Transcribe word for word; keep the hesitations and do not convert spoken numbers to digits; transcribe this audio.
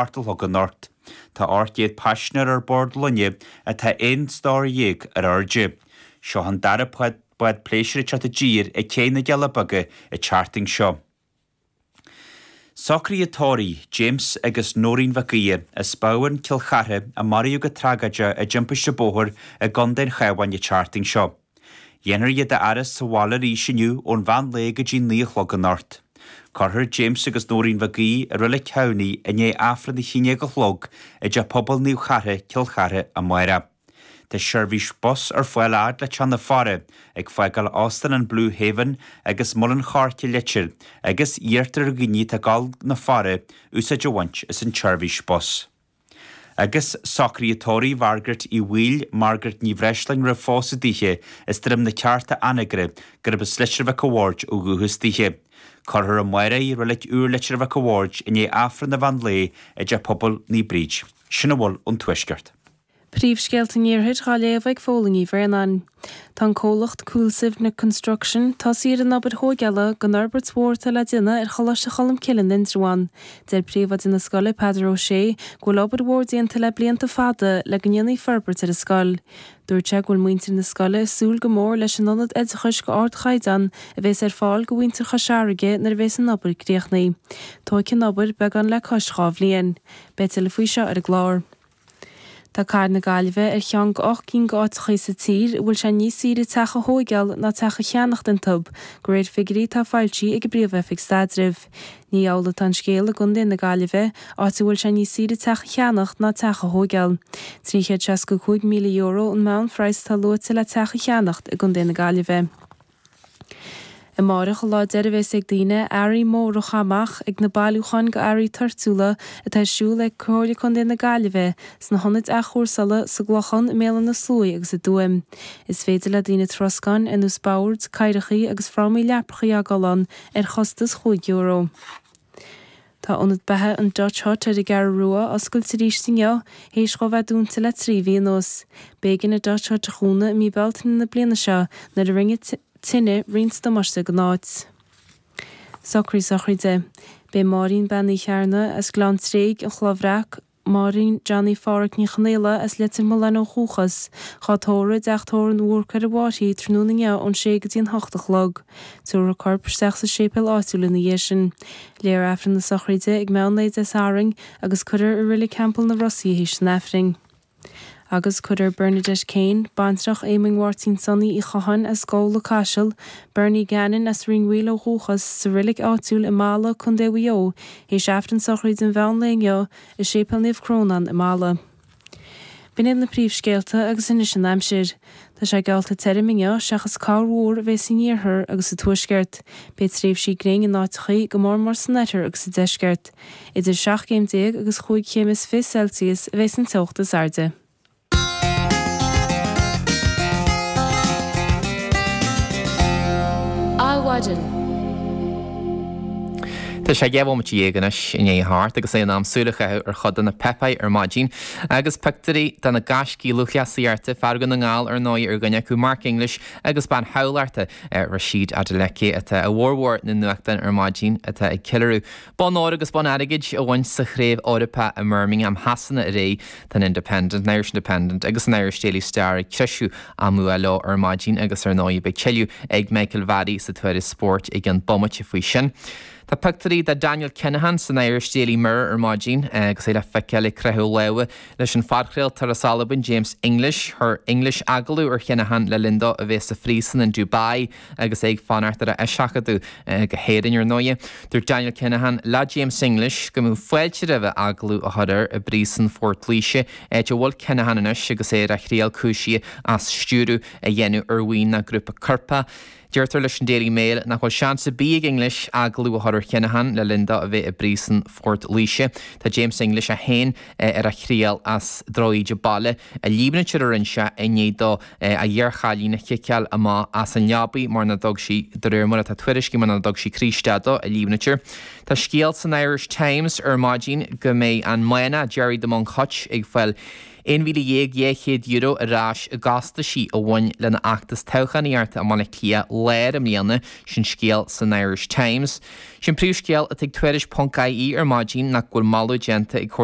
hocht a chlog anocht. Tá ocht gcéad paisinéir ar bord loinge atá aon stór dhéag ar airde. Seo an dara bád pléisiúir ag teacht i dtír ag Cé na gCealla Beaga an tseachtain seo. Socruithe tórraimh James agus Nóirín Mhic Aoidh as Bamhain Cill Chartha a maraíodh go tragóideach i dtimpiste bóthair i gContae an Chabháin an tseachtain seo. Dhéanfar iad a fhaire sa bhaile arís inniu ón mheán lae go dtí naoi a chlog anocht. Cuirfear James agus Nóirín Mhic Aoidh i Reilig Thamhnaigh i ndiaidh Aifreann a haon déag a chlog i dTeach Pobail Naomh Chartha, Cill Chartha amárach. Tá seirbhís bus ar fáil fhad le Teach na Faire, ag fágáil Óstán an Blue Haven agus Muileann Choirce Leitir agus iarrtar ar dhaoine atá ag dul na Faire úsáid a bhaint as an tseirbhís bus. Agus socruithe tórraimh Mhargaret Uí Bhaoill, Margaret Ní Bhreisleáin roimh phósadh dithe as Droim na Cearta Anagaire gurb as Leitir Mhic a' Bhaird ó dhúchas dithe. Cuirfear amárach í i Reilig Úr Leitir Mhic a' Bhaird i ndiaidh Aifreann an mheán lae i dTeach Pobail Naomh Bríd. Sin a bhfuil ón Tuaisceart. Príomhscéalta an Iarthair á léamh ag Fódhla Ní Bhraonáin. Tá an comhlacht Cúil Suibhne Construction tosaithe ar an obair thógála don fhorbairt mhór atá le déanamh ar Choláiste Cholmcille in Indreabhán. Deir príomhoide na scoile Peadar Ó Sé go bhfuil obair mhór déanta le blianta fada le go ndéanfaí forbairt ar an scoil. Dúirt sé go bhfuil muintir na scoile ag súil go mór leis an ionad oideachais go ardchaighdeán a bhéas ar fáil go mhuintir Chois Fharraige nuair a bhéas an obair críochnaithe. Tógfaidh an obair beagán le cois dhá bhliain. Beidh tuilleadh faoi seo ar an gclár. Tá Cathair na Gaillimhe ar cheann de ocht gcinn d'áiteachaí sa tír a bhfuil sé níos saoire teach a thóigeáil ná teach a cheannacht iontu, de réir figiúirí atá foilsithe ag an bPríomh-Oifig Staidrimh. Ní amhlaidh atá an scéal i gContae na Gaillimhe, áit a bhfuil sé níos saoire teach a cheannacht ná teach a thóigeáil. Trí chéad seasca cúig míle euro an meánphraghas atá luaite le teach a cheannacht i gContae na Gaillimhe. Amárach an lá deiridh a bheas ag daoine earraí móra a chaitheamh amach ag na bailiúcháin d'earraí toirtiúla atá ar siúl ag Comhairle Contae na Gaillimhe sna hionaid athchúrsála sa gClochán, i mBéal Átha na Sluaighe agus i dTuaim. Is féidir le daoine troscáin ar nós boird, cathaoireacha agus frámaí leapacha a fhágáil ann ar chostas chúig euro. Tá ionad beatha an Dutch Hut ar an gCeathrú Rua oscailte arís inniu, théis dhó bheith dúnta le trí mhí anuas. B'éigean an Dutch Hut a dhúnadh i mí Bealtaine na bliana seo nuair a rinne tine roinnt damáiste don áit. Socruithe sochraide. Beidh Máirín Bean Uí Chearna as Gleann Tréig, an Chloich Bhreac, Máirín Johnny Pháraic Ní Chonaola as Leitir Mealláin ó dhúchas, dhá tórramh i dteach tórraimh an Bhúrcaigh ar an bhFairche tráthnóna inniu ón sé go dtí an hocht a chlog. Tabharfar a corp isteach sa séipéal áitiúil ina dhiaidh sin. Léifear Aifreann na sochraide ag meán lae Dé Sathairn agus cuirfear i Reilig Theampall na Rosaí í théis an Aifrinn. Agus cuirfear Bernadette Kane, baintreach Éamoinn Mháirtín Sonaí Uí Chatháin as Gabhla Caiseal, Bernie Gannon as Rinn Mhaoil ó dhúchas, sa reilig áitiúil i Mala, Contae Mhaigh Eo, théis Aifreann sochraide an mheán lae inniu i Séipéal Naomh Crónán i Mala. B'in iad na príomhscéalta agus anois an aimsir. Tá sé geallta tirim inniu, seachas corrmhúr a bheas san iarthar agus sa tuaisceart. Beidh tréimhsí gréine in áiteachaí, go mór mór san oirthear agus sa deisceart. Idir seacht gcéim déag agus chúig chéim is fiche Celsius a bheas an teocht is airde. Adhmhaidin. Tá sé dhá bhomaite dhéag anois i ndiaidh a hocht agus é in am súil a chaitheamh ar chuid de na páipéir ar maidin agus pictiúirí de na gaiscígh lúthchleasaíochta, fear Dhún na nGall ar ndóigh ar dhuine acu, Mark English agus bean Thamhlachta, Rhasidat Adeleke atá i bhformhór na nuachtán ar maidin atá ag ceiliúradh bonn óir agus bonn airgid a bhaint sa Chraobh Eorpach i mBirmingham Shasana aréir. Tá an Independent, an Irish Independent agus an Irish Daily Star ag treisiú a mbua leo ar maidin agus ar ndóigh beidh tuilleadh ag Michael Varry sa Tuairisc Spóirt i gceann bomaite faoi sin. Tá pictiúirí de Daniel Kinahan san Irish Daily Mirror ar maidin agus é le feiceáil ag croitheadh lámha leis an phodchraoltóir as Albain James English. Chuir English agallamh ar Kinahan le linn dó a bheith sa phríosún in Dubai agus é ag fanacht ar a eiseachadadh go hÉirinn ar ndóigh. Dúirt Daniel Kinahan le James English go mbeadh fáilte roimhe agallamh a chur air i bpríosún Phort Laoise, áit a bhfuil Kinahan anois agus é ar a thriail cúisithe as stiúradh a dhéanamh ar bhuíon nó grúpa coirpeach. Deirtear leis an Daily Mail nach bhfuil seans ar bith ag English agallamh a chur ar Kinahan le linn dó a bheith i bpríosún Phort Laoise. Tá James English é féin ar a thriail as drochíde baile a líomhnaítear a rinne sé i ndiaidh dó a iarchailín a chiceáil amach as an leabaidh mar nach dtug sí, de réir mar atá tuairiscithe, mar nach dtug sí croí isteach dó, a líomhnaítear. Tá scéal san Irish Times ar maidin go mbeidh an Máinleach Gerry the Monk Hutch ag fáil aon mhíle dhéag dhá chéad euro ar ais i gcostaisí a bhain lena fheachtas toghchánaíochta i mBaile Átha Cliath Láir i mbliana, sin scéal san Irish Times. Sin príomhscéal atá ag Tuairisc ponc IE ar maidin nach bhfuil moladh déanta ag Comhairle